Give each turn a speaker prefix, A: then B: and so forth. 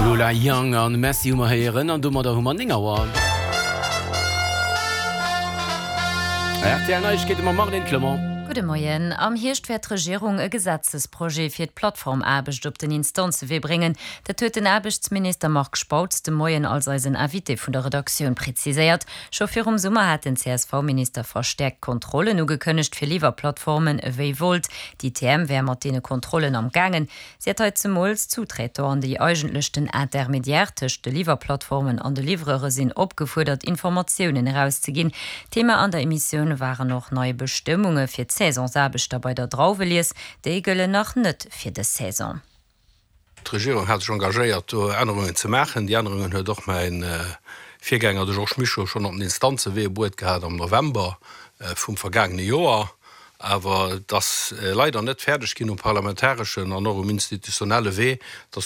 A: Lola Young an Messi hu mer héieren an domadder hu mer 9 Auer. Rtl Neiegkeete mam Marlène Clement.
B: Gudde Moien. Am Hierscht wäert d'Regierung e Gesetzesprojet fir d'Plattformaarbecht op den Instanzewee bréngen. Dat huet den Aarbechtsminister Marc Spautz de Moien als eisen Invité vun der Redaktioun präziséiert. Scho virum Summer hat den CSV-Minister verstäerkt Kontrollen ugekënnegt fir Liwwerplattformen ewéi Wolt. D'ITM wär mat deene Kontrollen am gaangen. Si hätt hei zemools d'Sous-traitant an déi eigentlech den Intermédiaire tëscht de Liwwerplattformen an de Livreure sinn opgefuerdert Informatiounen erauszeginn. Thema an der Emissioun waren och nei Bestëmmunge fir d'Saisonsaarbechter bei der Drauwelies. Déi gëllen nach net fir dës Saison.
C: D'Regierung hat sech engagéiert, do Ännerungen ze maachen. Déi Ännerungen huet och mäi Virgänger, de Georges Mischo, schonn op den Instanzewee bruet gehat am November vum vergaangene Joer. Awer et ass leider net fäerdeg ginn um parlamentareschen an och um institutionelle Wee, dass de.